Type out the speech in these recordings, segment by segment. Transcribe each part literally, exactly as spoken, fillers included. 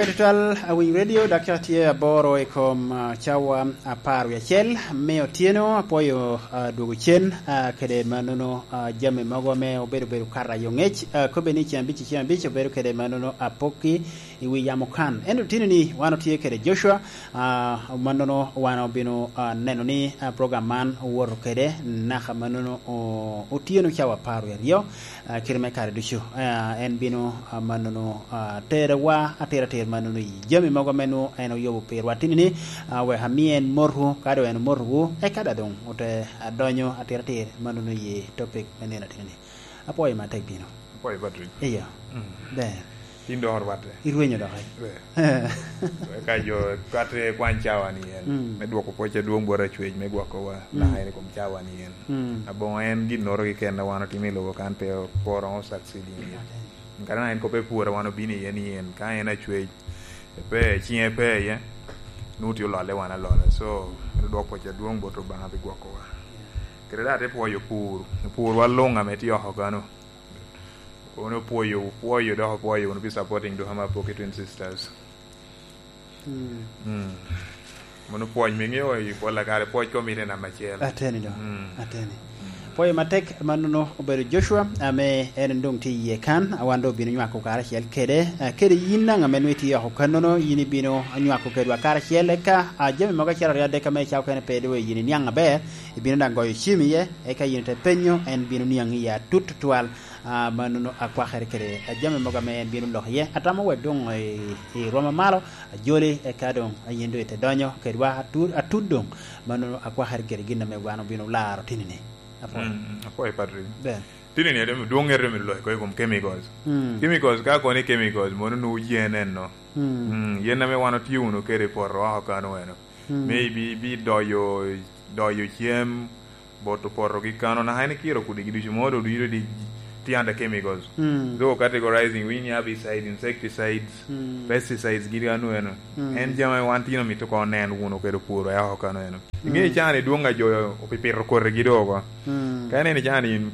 Tutwal, awiny radio, dakika tye aboro i kom, ah, cawa apar wie acel me otyeno. Apwoyo, ah, dwogo cen, ah, kede mannono, ah, jami mogo ame obedo, obedo kara yo ngec. Ah, kobbe ni ceng abic, ceng abic obedo kede mannono apokki i wi yamo kan. Ento tini ni wan otye kede Joshua, ah, mannono wan obino, ah, neno ni, ah, program man owoto kede naka mannono o-, otyeno cawa apar wie aryo. Ah, kite me kare ducu, ah, en bino, ah, mannono, ah, terewa atiratir mannono i jami mogo ame nwoŋo en oyubo pirwa tini ni, ah, wek ami en motu, ka doŋ en omotowu, eka daŋ doŋ ote adonyo atiratir mannono i topic me nino atini ni. Apwoyo matek bino. Apwoyo, Patrick. Iya. Mm. Ber. Tin dok orwatte. Irwenyo dok, eh? Ber. Eka jo rwatte kwany cawa ni en. Mm. Me dwoko pwoc adwoŋ bot Acwec me gwokowa, mm, naka en i kom cawa ni en. Mm. Aboŋo en ginnoro keken a wan otimo i lobo kan pe pworo succeeding iye. Kadi naka en kop epwora wan obino iye ni en, ka en Acwec, pe, ciŋe pe iye, nwoŋo tye ololle wan alola. So, en odwoko pwoc adwoŋ bot Obaŋa pi gwokowa. Kede daŋ ate pwoyo pur, purwa luŋ ame tye oko kano. Wun opwoyo, opwoyo, dok opwoyo wunu pi supporting Duhama Apoki Twin Sisters. Mm. Mm. Mono pwony me ŋeo i pol a kare, pwony komite namba acel. Ateni do. Mm. Ateni. Mm. Pwoyo matek mannono obedo Joshua, ame en doŋ tye iye kan, a wan doŋ obino nywako karacel kede, eh, kede yin daŋ ame nwoŋo itye oko kannono, yin ibino nywako kedwa karacel, eka, ah, jami mogo acel aryo adek ame icako kene pe doŋ yin iniaŋ aber, ibino daŋ goyo cim iye, eka yin ite penyo, en bino niaŋ iye atut tutwal. Ah, mannono akwakere kede, ah, jami mogo ame en bino lok iye. Atamo wek doŋ i, i rwoma malo, ajoli, eka doŋ, ah, yin doŋ ite donyo kedwa atud, atud doŋ. Mannono akwakere kede gin ame wan obino laro tini ni. Apwoyo. Mm, apwoyo, Patrick. Ber. Tini ni, dwoŋ ŋete myero lok oko i kom chemicals. Mm. Chemicals, ka koni chemicals, mono nwoŋo yen enno. Mm. Mm, yen ame wan otye wunu kede i poto oko kano eno. Mm. Me ibi-, ibi doyo, doyo cem, boto poto gi kano, naka en ikiro kodi gi ducu, modo ducu di tye under chemicals. Mm. Though categorizing, we ni herbicides, insecticides, mm, pesticides, gi kano eno. Mm. En jami wan tino mito ko nen wunu kede puro ya oko kano eno. Mm. Inge cani dwong a jo opipito koti gi do oko. Mm. Ka ineno cani in,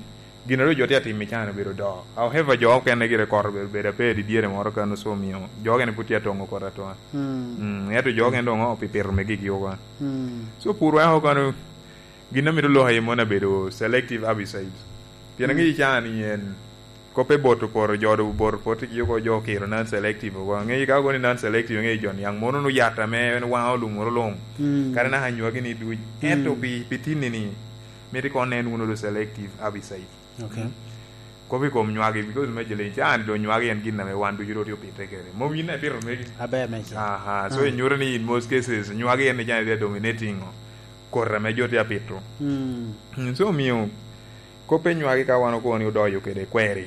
gin a ru jo tye atimo i cani obedo do. However, jo okene gire koro obedo, obedo ape i dyere moro kano, so omiyo jo okene pud tye atongo koti atona. Mm. Mm, ento jo okene doŋ opipito me gigi oko. Mm. So puro ya oko kano, gin a mito lok aye moni abedo selective herbicides. Pien, mm, aŋeyo cani en, kop eboto poto, jo doŋ oboto poto gi oko, jo okiro non selective oko. Aŋeyo ka oko ni non selective, aŋeyo jo niaŋ mono nu yat ame en waŋo lumoro luŋ. Mm. Kadi naka nywagi ni duc. Ento, mm, pi, pi tinni ni, mito koŋ nen wunu do selective herbicide. Okay. Mm. Kop i kom nywagi, because me jele, cani do nywagi en gin ame wan ducu ro tye opite kede. Mom yin ipito megi. Aber me cen. Aha, so, ah, inyuto ni in most cases, nywagi en cani tye dominating koti ame jo tye apito. Mm. Mm, so omiyo, kop pe nywagi ka wan okobo ni odoyo kede kweri.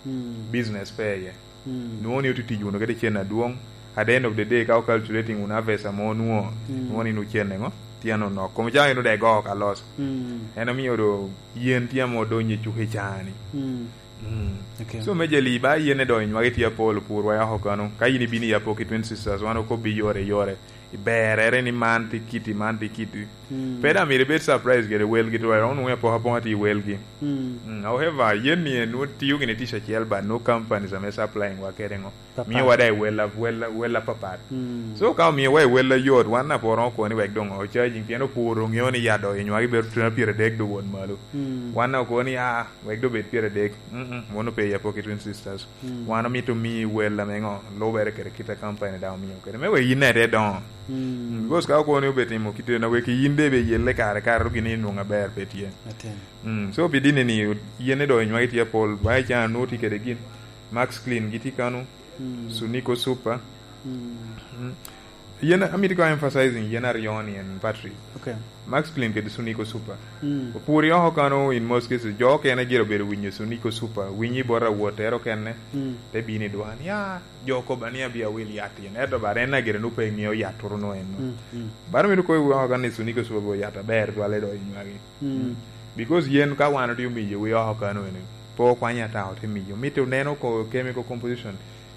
Mm. Business pe iye. Mm. Nwoŋo ni otye tic wunu kede cen adwoŋ. At the end of the day, ka o calculating wunu harvest ame onwoŋo, mm, nwoŋo ni nwoŋo cen eŋo? Tye anonok. Kom ca en odego oko alos. Mm. En omiyo do yen tye ame odonyo i cuka i caa-ni. Mm. Mm. Okay. So, me jali ba yen edo i nywagi tye apol, opurwa ya oko kano. Ka yin ibino i Apoki Twin Sisters, wan okobbi yore yore. Iberere ni man tye kiti, man tye kiti. Mm. Pe daŋ myero ibed surprise kede welgi, to onwoŋo apokapoka tye i welgi. Mm. Mm, however, yen ni en nwoŋo tiyo gini tic acel, but nwoŋo companies ame supplying wa kede ŋo. Papat. Miyowa daŋ i wel a-, wel a-, wel apapat. Mm. So, ka omiyowa i wel ayot, wan aporo oko ni wek doŋ o charging, pien opuro ŋeo ni yat doŋ i nywagi bedo twen pyeradek do won malo. Mm. Wan oko ni, ah, wek doŋ bed pyeradek. Mm-mm, mono pe i Apoki Twin Sisters. Mm. Wan omito omi wel ame ŋo, lubere kede kit a company daŋ omio kede. Me wek yin ete doŋo. Mm. Mm, because ka okobo ni obetimo kite na wek yin de be yelle kare kare, ru gin inwoŋo aber pe tye. Aten. Mm, so pi dini ni, yen ni doŋ inywagi tye apol, ba i can nwoŋo tye kede gin. Max Clean gitye kano, mm, Sunico Super. Mm. Mm. Yen amito ko emphasizing yen aryo ni en battery. Okay. Max Clean kede Sunico Super. Mm. Opuri oko kano in most cases, jo okene gire obedo winyo Sunico Super, winyi bot awottere okene, mm, te bino i dwan. Ya, jo koba ni abi awil yat in. Eto bara en agire nu pe ngeo yat turu no en no. Mm, mm. Bara mito koyi oko kano ni Sunico Super bo yat aber twale do inywagi. Mm. Mm. Because yen ka wan otye omiyo wi oko kano ene, po kwanya ta ote miyo. Mito neno ko chemical composition.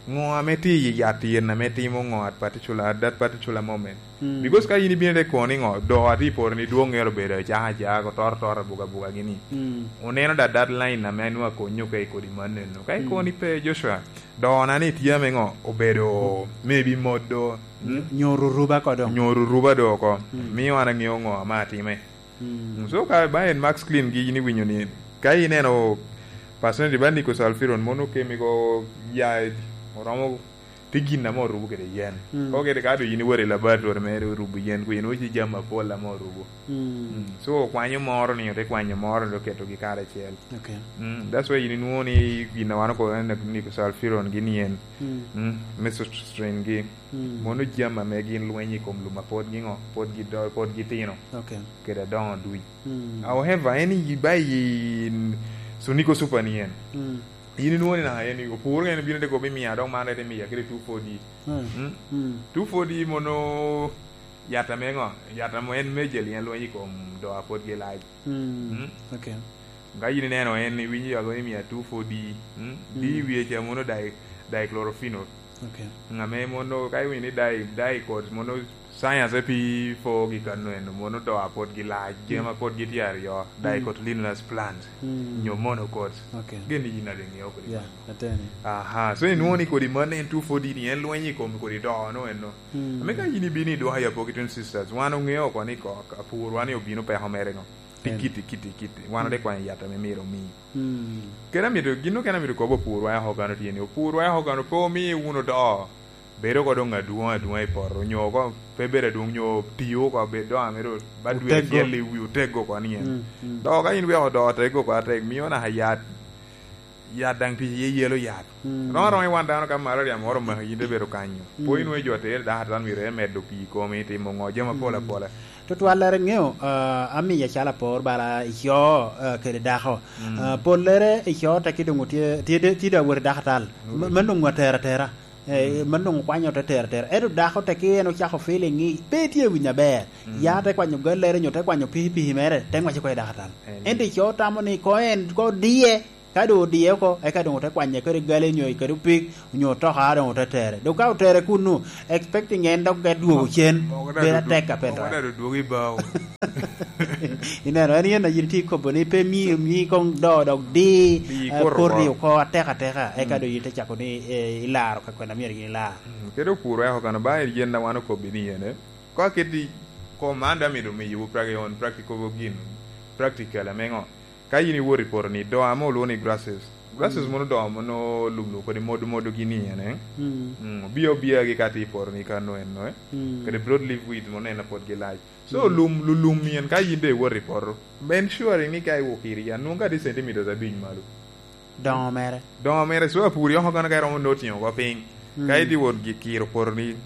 Ŋo ame tye i yat yen ame timo ŋo at particular, at that particular moment? Mm. Because ka in ibino te kono ni ŋo, do ati poro ni dwoŋ ero bedo acaka acaka, ko toro toro abuga abuga gini. Mm. Oneno da that line ame nwa konyo ka i kodi man eno. Ka i Mm. koni pe, Joshua, do na ni tye ame ŋo, obedo maybe moddo. Mm. Nyo-, nyo ruruba kodo. Nyo ruruba do oko. Mm. Miyo an aŋeo ŋo ame atime. Mm. So ka ba en Max Clean gi in iwinyo ni, ka ineno percentage ba nicosulfuron mono kemi go ya, oromo ti gin ame orubo kede yen. Mm. Ko kede ka do in iwor i laboratory mere orubo yen, ku in oci jam apol ame orubo. Mm. Mm. So okwanyo moro ni, ote kwanyo moro ni, oketo gi karacel. Okay. Mm. That's why in inwoŋo ni gin a wan okobo ni nicosulfuron gin yen. Mm. Mm. Mesostrain gi. Mm. Mono jam ame gin lweny i kom lum a pwod gi ŋo, pwod gi do-, pwod gi tino. Okay. Kede adoŋo duc. Mm. However, en i ba i Sonico Super ni en. Mm. In inwoŋo ni na en i opur en bino te kobi mia dok man rete mia kede two forty. Mm. Mm. Mm. Two forty mono yat ame ŋo, yat ame en majorly en lweny i kom do a pwod gi lac. Mm. Mm. Okay. Ka in ineno en, iwinyo yalo ni mia two forty, mm? Mm. Di i wiye ca mono di-, dichlorphenol. Okay. Ame mono, ka iwinyo ni di-, dicot, mono science pi po gi kano eno, mono do a pwod gi lac, Mm. jema pwod gitye aryo, Mm. dicotyledonous plant, Mm. nyo monocot. Okay. Gin ni in ade ŋeo kodi Yeah, mano. Ateni. Aha, so inwoŋo ni kodi man en two forty ni, en lweny i kom kodi do no eno. Mm. Ame ka in ibino i dwoko ya Pokitun Sisters, wan oŋeo oko ni ko, apur wan ni obino peko mere ŋo. Pi Em. kiti, kiti, kiti. Wan Mm. ate kwanyo yat ame myero omi. Mm. Kede amito, gin okene amito kobo opurwa oko kano tye ni, opurwa oko kano pe omi wunu do. Bedo oko doŋ adwoŋ adwoŋ i poto, nyo oko pe bedo adwoŋ, nyo tiyo oko bedo doŋ amito ba dwe Otego. acel i wi otego oko ni en. Mm, mm. Do ka in weko do otego oko atek, mio naka yat, yat daŋ tic iye yelo yat. Mm. Roŋo roŋo i wan dano ka malaria moro omaki, in te bedo kanyo. Mm. Po in wee jo atere dako atan myero en medo pii i komi, itimo ŋo, jami apol Mm. apola. Tutwal lere ŋeo, ah, amiya calo apor bala ico, ah, kede dako. Mm. Ah, pol lere ico teki doŋ otye, tye, tye, tye da wot i dako atal. Mm. Ma, ma doŋ atera atera. Eh, Mm. ma doŋ okwanyo te tera atera. Ento dako teki en ocako feeling ni pe tye winyo aber. Mm. Ya te kwanyo gallere nyo te kwanyo pikipiki mere, te ŋwece ko i dako atal. Amen. Ento ico tamo ni ko en, ko diye, Ka doŋ odiye oko, eka doŋ ote kwanye kede gali nyo kede opik, onyo otoka doŋ ote tere. Doŋ ka otere kunnu, expecting en dok te dwogo cen, bedo atek a pe dok. Ineno, en yen a yin itye ikobo ni pe mi, mi koŋ do dok di, eh, koti oko atek ateka, eka doŋ yin ite cako ni, eh, ilaro ka kwena myero yin ilar. Mm, kede opur weko kano ba en yen a wan okobbi ni ene. Ka keti kom man dok amito miyowu practical, practical gin, practical ame ŋo? Ka in iwot i poto ni, do ame olwongo ni grasses. Grasses Mm. mono do mono lum lum kodi modo modo gini en, eh? Mm. Mm, obia obia gi ka tye i poto ni kano eno, eh? Mm. Kede broad leaf weed mono en apwod gi lac. So, Mm. lum, lu-, lum ni en ka in de iwot i poto, be ensuring ni ka iwok iri ya, nwoŋo ka tye centimeters abic malo. Doŋo mere. Doŋo mere, so apuri oko kano ka iromo noti oko piny. Mm. Ka idhi wot gi kiro poto ni,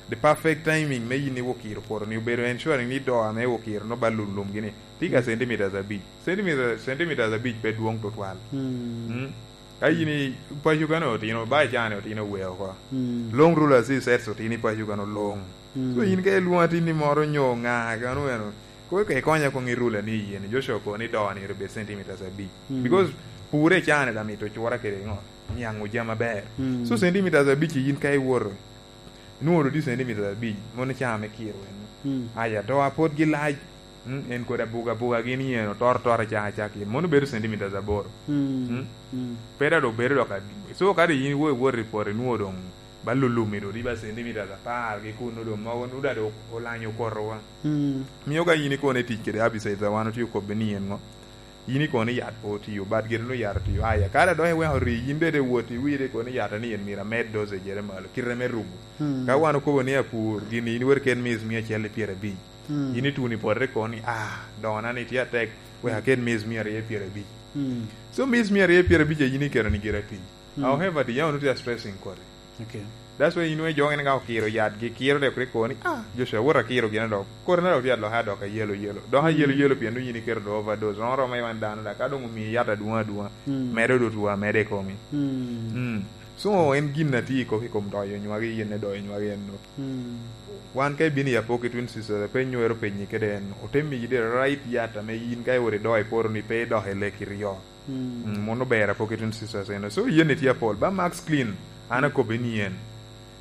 the perfect timing me in iwok kiro poto ni obedo ensuring ni do ame iwok kiro no ba lum lum gini. Tika Mm. centimeters abic. Centimeter, centimeters abic pe dwoŋ tutwal. Mm. Mm. Ka in i paco kano otino, ba icane otino we oko. Mm. Long rule as he said, otino i paco kano long. Mm. So in ka ilwongo atin ni moro nyo ŋa, kano eno, ko ke ikonya koŋ i rule ni yen, Joshua ko ni do ni obed centimeters abic. Mm. Because pure cane da mito cura kede ŋo, niaŋ ojam aber. Mm. So centimeters abic in ka iwoto, inwoŋo di centimeters abic, mono caa me kiro en. Mm. Aya, to apot gi lac, mm, en kodi abuga abuga gin yen, otor tor acaka acaka yen, mono bedo centimeters aboro. Mm. Mm. Mm. Pera do bedo dok ad-, so kadi in wo iwot i poto inwoŋo doŋ ba lulumi do riba centimeters apar gi kuno doŋ mogo nuda do olanyo kotowa. Mm. Mio ka in ikone tic kede herbicides a wan otye okobbe ni en ŋo? In ikone yat pe otiyo, but gire nu yat otiyo. Aya, kare dok iweko ri, in bede wot iwire ikone yat ni en myero amed dosage ere malo, kite me rubo. Mm. Ka wan okobo ni apur, gini in weri ket miss mia acel i pyerabic. Mm. In ituno i poto ikone ni, ah, dona ni tye atek, wek aket miss mia aryo i pyerabic. Mm. So miss mia aryo i pyerabic a in iketo ni gira piny. Mm. However, the young tye stressing kodi. Okay. That's why inwe jo gin ka okiro yat gi kiro de kuri koni, ah, Joshua, wot akiro gin dok. Kore na dok tye adok adok a yelo yelo. Dok a yelo Mm. yelo pien dong in iketo do overdose. Romo romo iwan dano da, ka dong omiyi yat adwong adwong. Mm. Medo do tuwa, medo i komi. Mm. Mm. So, en gin na tye i kop i kom doyo nywagi, yen ne doyo nywagi en no. Mm. Wan ka ibino i Apoki Twin Sisters, pe nywero penyi kede en, ote miyi the right yat ame in ka iwot ido i poto ni pe idok i leki ryo. Mm. Mm, mono ber Apoki Twin Sisters eno. So, yen itye apol. Ba Max Clean. An akobbe ni en.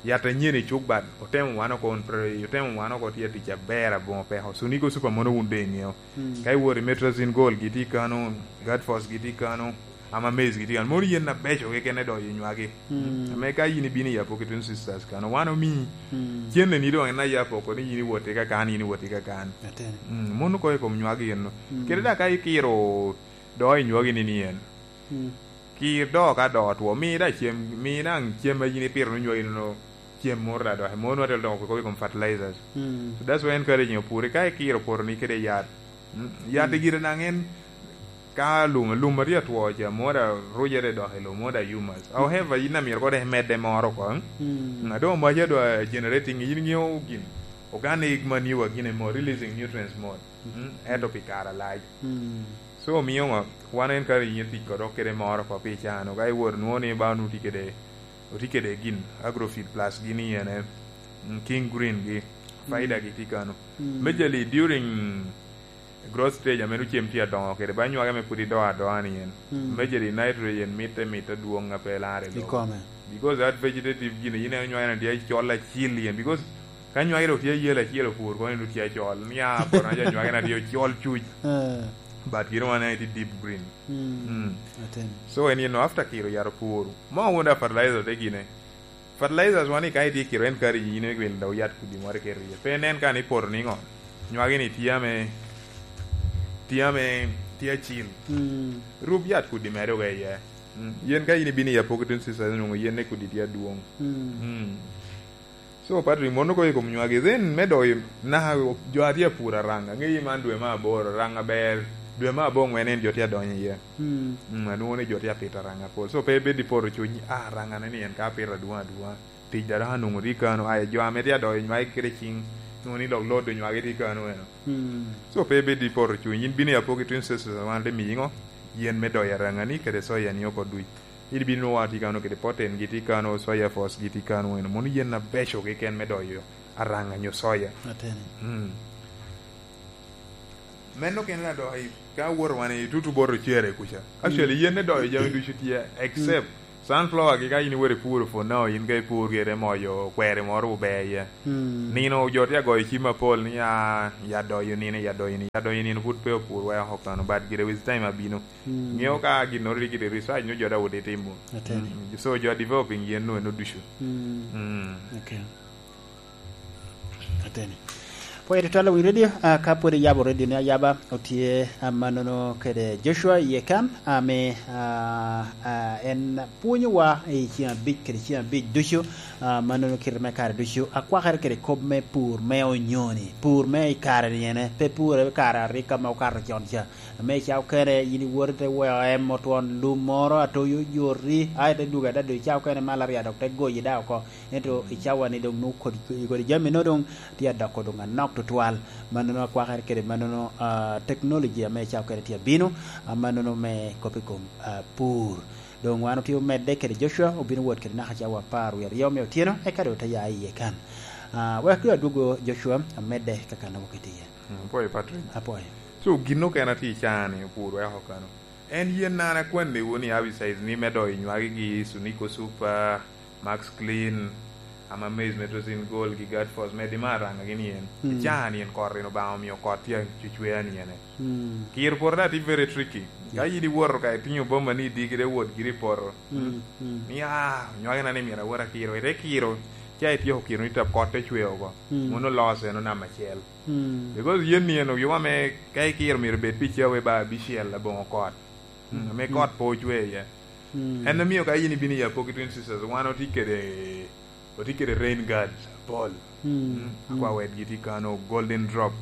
Yat anyen i cuk bat, otemo wan oko on pre-, otemo wan oko tye tic aber aboŋo peko. Sunico Super mono wun doŋ iŋeo. Mm. Ka iwot i Metrazine Gold gitye kano, Guard Force gitye kano, Ama Maize gitye kano. Mono yen abeco keken idoyo i nywagi. Mm. Ame ka yin ibino i Apoki Twin Sisters kano, wan omi Mm. cenneni doŋ en aye apoko ni yin iwot i kakan, yin iwot i kakan. Atene. Mm, mono kono i kom nywagi eno. Mm. Kede da ka ikiro do i nywagi ni ni en. Mm. Kir do ka do otwo, mi da cem, mi daŋ cem a yin ipito ni nywagi nono cem moro da doki. Mono atwero dok okwiko i kom fertilizers. Mm. So that's why encouraging opuri ka ikiro poto ni kede yat. Mm, yat Mm. gire daŋ en ka lum, lum a tye atwo ca, moro da rujere dok i lobo, moro da humus. However, yin amito kono dok imedde moro oko. Mm. Mm, a doŋ maca doŋ generating, yin iŋeo gin. Organic manure gin emo, releasing nutrients mot. Mm, ento pi kare alac. Mm. So, omiyo ŋo, wan en ka yin tic kede kede moro oko pi cano, ka iwot nwoŋo ni ba onwoŋo tye kede, otye kede gin, Agrofeed Plus gini ene, mm, King Green gi, Faida Mm. gi tye kano. Mm. Majorly during growth stage ame dong cem tye adoŋo kede, ba nywage ame pwod ido adoa ni en. Mm. Majorly nitrogen mitte, mitte dwoŋ a pe larre I lobo. kome. Because that vegetative gini, yin en nywage na tye acol acil yen. Because ka nywage dok tye ayel acel opur, kono en dong tye acol. Nia poto na ja nywage na tye ocol cuc. Eh. But gin wan en tye deep green. Mm. Mm. Aten. So, en yen after kiro yat opur. Mo wun da fertilizer te gine. Fertilizers wan i ka itye kiro en kari yin me gwel da oyat kudi moro iketo iye. Pe nen ka ni poto niŋo. Nywage ni tye ame, tye ame, tye acil. Mm. Rub yat kudi mere oga iye. Mm. Yen ka in ibino i Apoki Twin Sisters, inwoŋo yen ne kudi tye adwoŋ. Mm. Mm. So, Patrick, mono kono i kom nywagi. Then, me doyo, naka jo a tye apur araŋa. Ŋeyi man dwe me aboro, araŋa ber. Dwe me aboŋwen en jo tye adonyo iye. Mm. Mm, anwoŋo ni jo tye apito araŋa pol. So, pe ibed i poto cuny, "Ah, araŋa ne ni en ka apito adwoŋ adwoŋa." Tic da dok anwoŋo tye kano, aye jo ame tye adoyo nywagi kede ciŋ, nwoŋo ni lok lodo nywagi tye kano eno. Mm. So, pe ibed i poto cuny, yin bino i Apoki Twin Sisters, wan te miyi ŋo? Yen me doyo araŋani kede soya ni oko duc. In ibino nwoŋo tye kano kede Proten gi tye kano, Soya Force gi tye kano eno. Mono yen abeco keken me doyo araŋa nyo soya. Ateni. Mm. Meno kene na dok i, ka awoto wan i tutu bot ocere kuca. Actually, Mm. yen me doyo jami ducu tye, except Mm. sunflower gi ka in iwero ipuro for now, in ka ipur gire moyo kweri moro ober iye. Mm. Nino jo tye agoyo cim apol ni, "Ah, ya doyo nino, ya doyo nino." Ya doyo nino pud pe opur wek oko kano, but gire with time abino. Mm. Ŋeo ka ginnoro rik ite research nyo jo dawod itimo. Ateni. Mm. So jo developing yen no eno ducu. Mm. Mm. Okay. Ateni. Pwod itwalo wi radio, ah, ka pwod iyabo radio ni ayaba, otye, ah, manono kede Joshua iye kan, ame, ah, ah, en pwonyowa i ceng abic kede ceng abic ducu, ah, manono kite me kare ducu, akwakere kede kop me pur me onyoni, pur me i kare ni ene, pe pur i kare arika ma okato con ca. Ame i ca okene, yin iwoto ite weo em otwon lum moro, atoyo yoti, a ite dwogo adada i ca okene mal arya dok te goyi da oko. Ento i cawa ni dong nwoŋo kodi, kodi jami no dong tye adoko dong anok tutwal. Manono akwakere kede manono, ah, technology ame i ca okene tye abino, ah, manono me kop i kom, ah, pur. Dong wan otye omedde kede Joshua, obino wot kede naka cawa apar wie aryo me otyeno, eka dong ote ya iye kan. Ah, wek dong adwogo Joshua, amedde ka kan wok itye iye. Mm, apwoyo Patrick. Apwoyo. So, gin okene atye i caa ni opur wek okano. En yen an akwanniwu ni herbicides ni me doyo nywagi gi Sunico Super, Max Clean, Ama Maize, Metrozin Gold, gi Guard Force, medi me araŋa gini en. Mm. I caa ni en kot rin Obaŋa omio kot tye acwecwea ni ene. Mm. Kiro poto da tye very tricky. Ka Yeah. in iwoto ka itingo boma ni i digi de wot giri i poto. Mm, mm. Ni, "Ah, nywagi na ni myero awot akiro." Ite kiro, ca ityeko kiro ni tap kot te cwe oko. Mm. Mono loss eno namba acel. Mm. Because yen ni en oyuma me ka ikiro myero bed pi cawe ba abicel aboŋo kot. Mm, ame Mm. kot pe ocwe iye. Mm. En omio ka in ibino i Apoki Twin Sisters, wan otye kede, otye kede rain guards apol. Mm. Mm. Akwa Mm. wetgi tye kano, Golden Drop.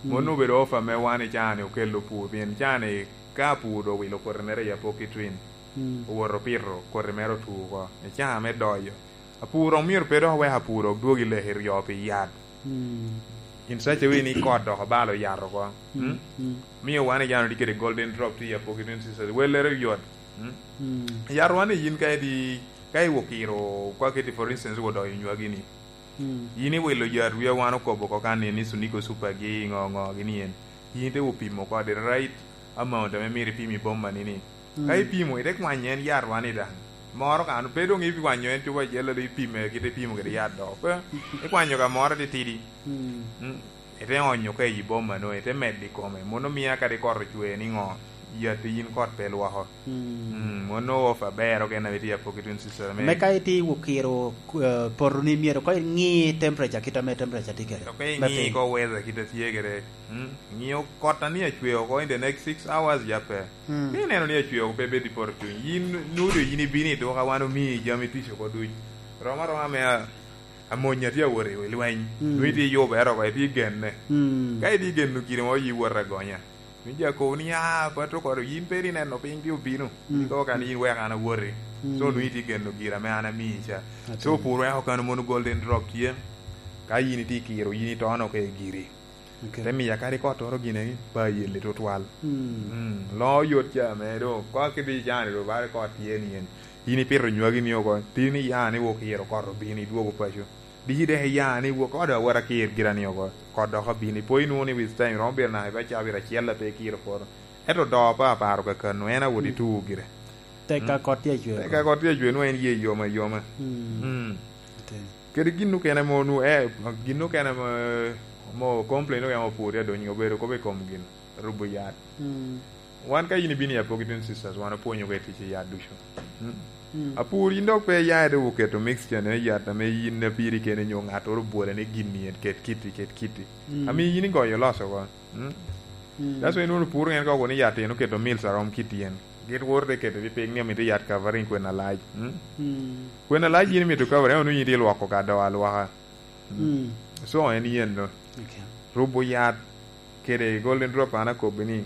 Mm. Mono obedo offer me wan i caa ni okelo pur, pien caa ni ka pur owilo koti mere i Apoki Twin, Mm. owoto opito koti mere otu oko. I caa me doyo. Apur omyero pe dok owek apur odwogi leki ryo pi yat. Mm. In such a way ni kot dok obalo yat oko. Mm, Mm? mm. Mio wan i jano tye kede Golden Drop tye i Apoki Twin Sisters. Wellere yot. Mm? Mm. Yat wan i yin ka edi, ka iwo kiro, kwa kiti for instance, wo doyo nywagi ni. Mm. Yin iwilo yat wi a wan okobo oko kan ni, ni Sunico Super gi ŋo ŋo gi ni en. Yin ite wo pimo kode right amount ame myero ipim i boma ni ni. Mm. Ka ipimo, ite kwanyo en yat wan i daŋ. Moro kan pe doŋ ikwanyo en cupa acel, ado ipime kite ipimo kede yat dok. Pe, ikwanyo ka moro titidi. Mm. Mm. Ite onyo ka i boma no, ite medo i kome. Mono mia kadi kot ocwe ni ŋo, yat i yin kot pe lwoko. Mm. Mm, mono off aber, ok en abe tye apok i twin sister me. Me ka iti wukiro, eh, poto ni myero ko iŋi temperature kit ame temperature tye kede. Ok iŋi ko weather kit a tye kede. Mm, ŋio kot a ni acwe oko in the next six hours ya pe. Mm. Ni neno ni acwe oko pe bed i poto cuny. Yin nudo yin ibino i duka wan omi jami tic oko duc. Rom aroma me a-, amony a tye awot i lweny. Mm. Nwi tye yubere oko, itye genne. Mm. Ka itye geno gire mo yi wot agonya. Nwi ja kobo ni, "Ah, pato koro, yin pe ri neno piny pi obino." Mm. Iko ka ni yin wek an awoti. Mm. So nwi tye geno gira me an ami ca. Ate. So pur weko kano mono golden drop tye. Ka yin itye kiro, yin itono ka i giri. Okay. Te miya kadi kottoro gine ba yelli tutwal. Mm. Mm. Loŋo yot ca me do. Kwa kidi jani do bare kot tye ni en. Yin ipito nywagi ni oko. Tin iya ni wok iyero kot obino idwogo paco. Di dek iya ni wok odo awara kir gira ni oko. Kot dok obino. Ipo inwoŋo ni with time romo biro naka iba cabit acel ape kiro poto. Ento do pa aparo kakano en awot mm ituo gire. Tek ka mm kot tye acwe. Tek ka kot tye acwe nwa en ye yoma yoma. Mm. Mm. Ate. Kede gin okene mo nu, eh, gin okene mo, mo complain okene mo pwod ya donyo obedo kop i kom gin, rubo yat. Mm. Wan ka yin ibino i Apogi Twin Sisters, wan opwonyo ka i tic i yat ducu. Mm. Mm. Apur yin dok pe iya ite oketo mixture ne yat ame yin apiri kene nyo ŋattoro obwole ni gin ni en ket kiti, ket kiti. Mm. Ami yin igoyo loso ko. Mm. Mm. That's why inwoŋo pur en ka okoni yat en oketo mils arom kit yen. Gin woro te keto pi piny ni amito yat covering kwena lac. Mm. Mm. Kwena lac yin imito covering, onwoŋo yin itye lwoko ka do alwaka. Mm. Mm. So en yen no. Okay. Rubo yat kede golden drop an akobbi ni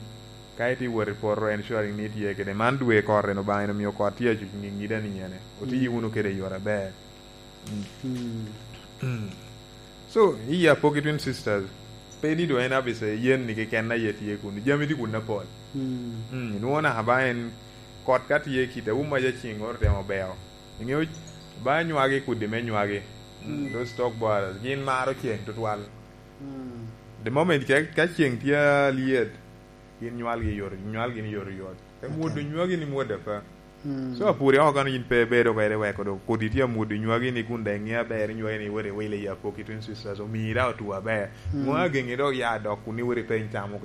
ka itye wot i poto ensuring ni itye kede. Man dwe kot en Obaŋa en omio kot tye acuc ŋiŋida ni ene. Oti mm wunu kede i yore aber. Mm. Mm. Mm. So, i Apogi Twin Sisters, pe ni do en abise yen ni keken aye tye kun. Jami tye kun apol. Mm. Mm. Inwoŋo naka ba en kot ka tye kite, um aja cing oro temo beo. Ingeyo ba nywagi kudi me nywagi. Mm. Mm. Those stock borders, gin maro ceng tutwal. Mm. The moment ka, ka ceng tye alyet, gin nywalgi yot, nywalgi ni yot yot. Te okay mwoddo nywagi ni mwoddo apa. Mm. So, apuri oko kano yin pe ibedo kwede weko do kodi tye amwoddo nywagi ni kun daŋ iŋeo aber nywagi ni iwot iwilo i Apogi Twin Sisters, omii daŋ otwo aber. Mm. Ŋo ageŋi dok ya dok kun iwot ipeny tam oko